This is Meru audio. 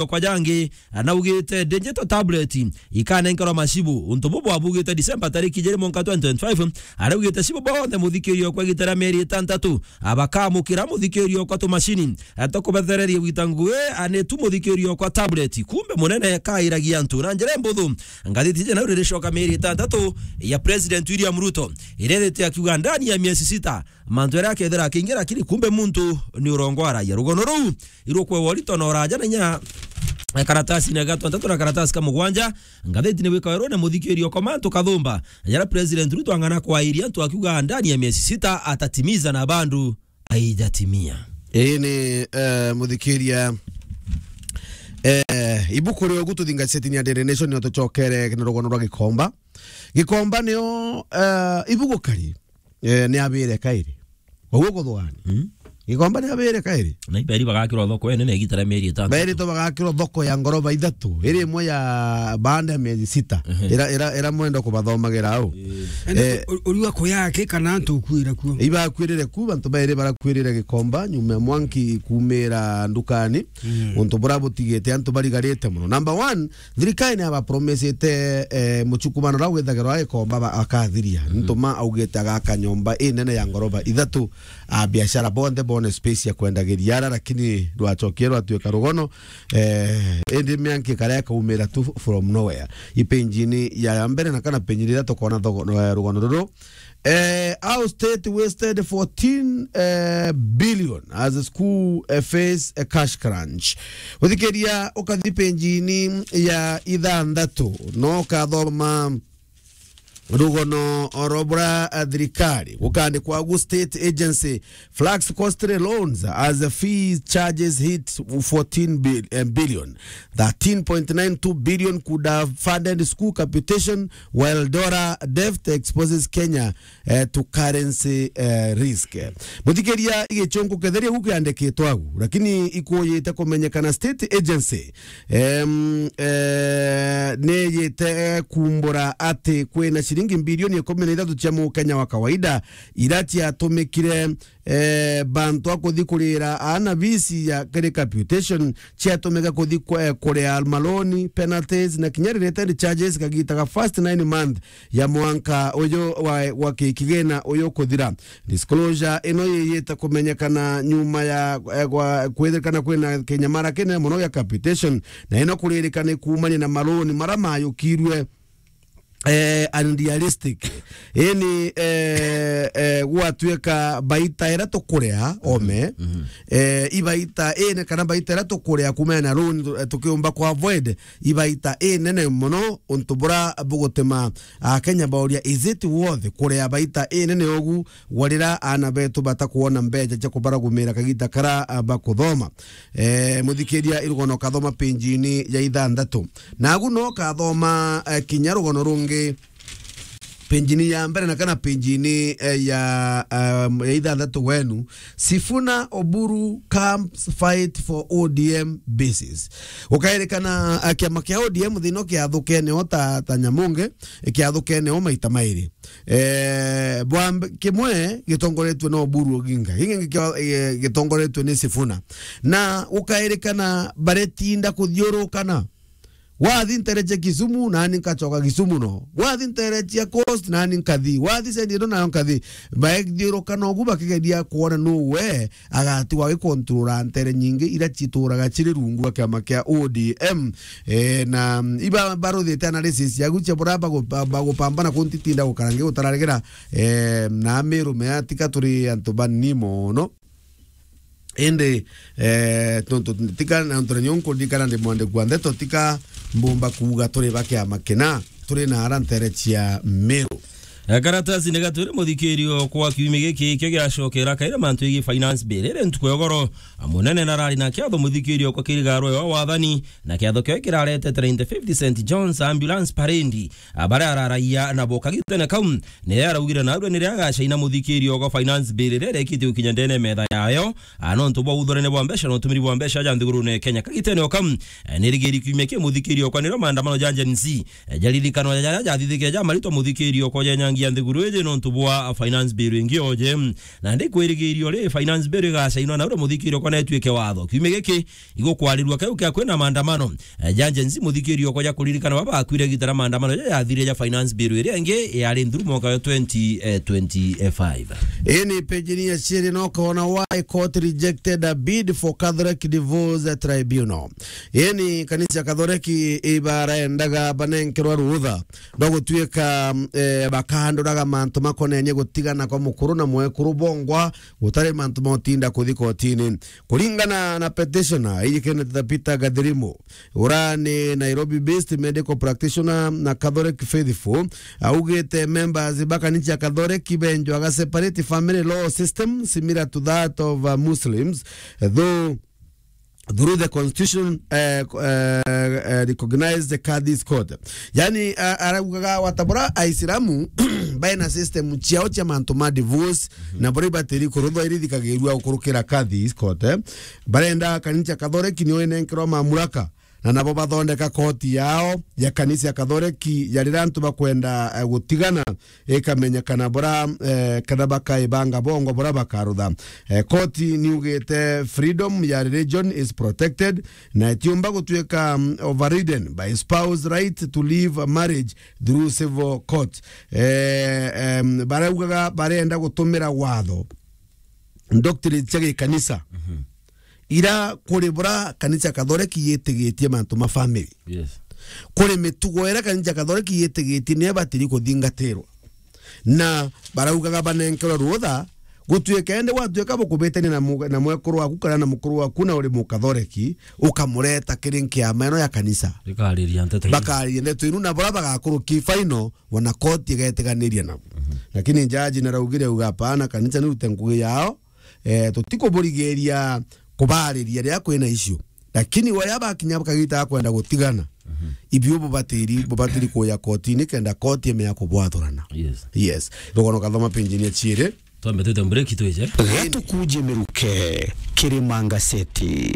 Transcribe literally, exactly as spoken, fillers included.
okwa jangi, anaugite digital tablet ikanenkerwa macibu. Untu bubu abugite December tariki ijiri mwanka twenty twenty-five, araugite cibu bonthe muthikiri okwa igita ria mieri itantatu, abakamukira muthikiri okwa tumacini, atokubethereria gwita ngui, anitu muthikiri okwa tablet. Kumbe munene kairagia antu na njira mbuthu. Ngathiti iji nau riricoka mieri itantatu ya President William Ruto, iria ithite akiuga ndani ya miezi sita, mantu jaria akethira akingira, lakini kumbe muntu ni urongo aragia. Rugono ruu irukwe worito na uraja na inya, eh, karatasi na gatantatu na karatasi ka mugwanja. Ngathiti ni wika werone muthikiri okwa mantu kathumba, jaria President Ruto ang'ana kwairia antu akiuga ndani ya miezi sita atatimiza na bandu aijatimia. Ii ni, eh, muthikiria, eh, ibuku ria ugu tuthingatia citinia Daily Nation nio tucokere na rugono rwa Gikomba. Gikomba nio, eh, ibuku kari, eh, ni abire kairi. Uguo kuthugani. Mm. Gikomba ni abire kairi. Na iberi bagakirwa thoko enene igita ria mieri itantatu. Beri to bagakirwa thoko ya ngoroba ithatu, iri imwe ya baada ya miezi sita. Ehe. Ira, ira, ira mwenda kubathomagira au. Ende Eh, u-, uriwa kuyake kana antu ukuira kuo? Ibakwirire ku, bantu bairi barakwirire Gikomba, nyuma ya mwanki kumira ndukani. Mm. Untu bura butigite antu barigarite muno. Number one, thirikari ni abapromesete, eh, muchukumano ura withagirwa Gikomba ba-, akathiria. Mm. Ntuma augite agaka nyomba inene ya ngoroba ithatu, a biashara bonthe bone space ya kwendagiria ara, lakini rwachokie rwatuika rugono. Eh, indi mianki kara ikaumira tu from nowhere. Ipenjini ya mbere na kana penjini iria tukona thogo-, eh, rugono ruru. Eh, how state wasted fourteen, eh, billion as school, eh, face a cash crunch. Guthikiria ukathi penjini ya ithanthatu, no kathoma rugono oro bura, eh, thirikari gukandikwa gu state agency flags costly loans as the fees charges hit fourteen bil-, eh, billion. Thirteen point nine two billion could have funded school capitation, while dollar debt exposes Kenya, eh, to currency, eh, risk. Muthikiria, igichunku ketheria gu kiandikitwe agu, lakini ikuyite kumenyekana state agency, em, eh, niyite kumbura ati kwina ciringi bilioni ikumi na ithatu cia Mukenya wa kawaida ira ciatumikire, eh, bantu a kuthi kurira aana bisi ya kiri capitation, ciatumika kuthi ku-, eh, kuria maloni, penalties na kinya related charges kagita ga first nine month ya mwanka uyu wa, wa ki-, kigina uyu kuthira. Disclosure ino yiyite kumenyekana nyuma ya, eh, gwa-, kwithirikana kwina kinyamara kinene muno gia capitation, na ino kuririkana ikumania na maloni mara mayukirwe, eh, unrealistic. Ini, eh, eh, gwatuika baita ira tukuria ome, mhm, eh, ibaita ine kana baita ira tukuria kumana na loan tu-, tukiumba ku avoid ibaita inene muno, untu bura bugutema Akenya bauria, is it worth kuria baita inene ugu, gwarira aana betu batakwona mbeca cia kubaragumira kagita kara, ah, bakuthoma? Eh, muthikiria, irugono kathoma penjini ya ithanthatu. Nagu no kathoma, eh, kinya rugono rungi, penjini ya mbere na kana penjini, eh, ya, um, ya ithanthatu wenu. Sifuna Oburu camps fight for O D M bases. Ukairikana, ah, kiama kia O D M thina kiathukene o ta, ta nyamunge, kiathukene o maita mairi. Eh, bwa mb-, kimwe gitongoretue na Oburu Oginga, gingi gikio-, eh, gitongoretue ni Sifuna. Na ukairikana baretinda kuthiurukana. Wathi ntere cia Kisumu, nani nkachoka Kisumu no. Wathi ntere cia Coast, nani nkathi. Wathi Central, nayo nkathi. Baethiurukana ugu bakigeria kwona nu we agatigwa agikontrora ntere nyingi ira cituraga ciri rungu rwa kiama kia O D M. Eh, na, mm, iba baruthite analysis yagu cia bura bagu-, ba-, bagupambana kuntitinda gukara ngigutararigera, eh, na Meru mea tika turi antu banini mono. Indi, eh, tontu tika na ntore nyonko ndikana ndi mwandiki wa ndeto, tika mbumba kuuga turi ba kiama kina, turi na ara ntere cia Meru. Eh, karatasi ni gatwire muthikirio kwa kiumia giki kio giacokera kaira mantu igi finance bill. Iri ntuku ya ugoro, munene na arari na kiatho muthikirio kwa kirigarwe wa wathani, na kiatho kio kirarete twenty-fifth Saint John's Ambulance Parade. Ah, baria araragia nabo kagitene kau, ni araugire narua ni riria agacaina muthikirio gwa finance bill riria rirekite gukinya ndene metha yayo, ah, nontu bwa uthorene bwa mbeca na utumiri bwa mbeca ja nthigurune Kenya. Kagitene o kau, eh, ni rigiri kiumia kia muthikirio kwa nirio maandamano ja Gen Z, eh, jaririkanwa jaria jathithikire ja maritwa muthikirio kwa jenyangi ya nthiguru iji nontu bwa finance bill ingi oje. Na ndikwirigiria uri finance bill igacainwa na uria muthikiri ukona ituike watho. Kiumia giki igukwarirua kau kia kwina maandamano. Eh, ja Gen Z muthikiri ukoja kuririkana baba akuire gitara maandamano ja yathire ja finance bill iria ingi yari nthuru mwaka wa twenty twenty-five. Ii ni page ni ya ciiri no kona why court rejected a bid for Catholic Divorce Tribunal. Ii ni kanisa Catholic ibaraendaga banenkerwa rutha rwa gutuika, eh, bakaanduraga mantu makonenie gutigana kwa mukuru na mwekuru bongwa gutari mantu ma utinda kuthi kotini. Kuringana na petitioner, iji Kenneth Peter Gathirimu, ura ni Nairobi based medical practitioner na Catholic faithful, augite members ba kanisa Catholic benjwaga separate family law system similar to that of, uh, Muslims, though through the constitution, eh, eh, eh, recognized the Kadhi's court. Yani, a-, araugaga watabura Aisilamu baina system ciao cia mantu ma divorce, na buria ibatiri kuruthwa irithikagirua gukurukira Kadhi's court, eh. Barenda kanisa Catholic nio inenkerwa mamuraka, na nabo bathondeka koti yao ya kanisa Catholic ya riria antu bakwenda, eh, gutigana, ikamenyekana bura, eh, kana bakaibanga bongwa bura bakarutha. Eh, koti niugite freedom ya religion is protected na itiumba gutuika, mm, overridden by spouse right to leave a marriage through civil court. Eh, em, baraugaga barenda gutumira watho, doctrine cia gikanisa, ira kuri bura kanisa Catholic yitigitie mantu ma family. Yes. Kuri mitugo ira kanisa Catholic yitigitie niyo ibatiri kuthingatirwa. Na baraugaga banenkerwe rutha gutuika indi gwatuika bukubitania na mu-, na mwekuru waku kana na mukuru waku na uri Mukathoreki, ukamureta kiri nkiama ino ya kanisa. Ikariria nteto iu. Bakariria ndeto inu na bura bagakuruki final wana koti igetiganiria nabo. Lakini jaji naraugire auga, "Hapana, kanisa nirute ngugi yao, eh, tutikuburigiria kubariria riria kwina issue." Lakini waria bakinya bakagita kwenda gutigana, ibio bubatiri, bubatiri kuya kotini kenda koti imenya kubwathurana. Yes. Yes. Rugono kathoma page ni ya ciiri. Twambe twite break twije. Gatukuje miruke, Kirima Ngaseti.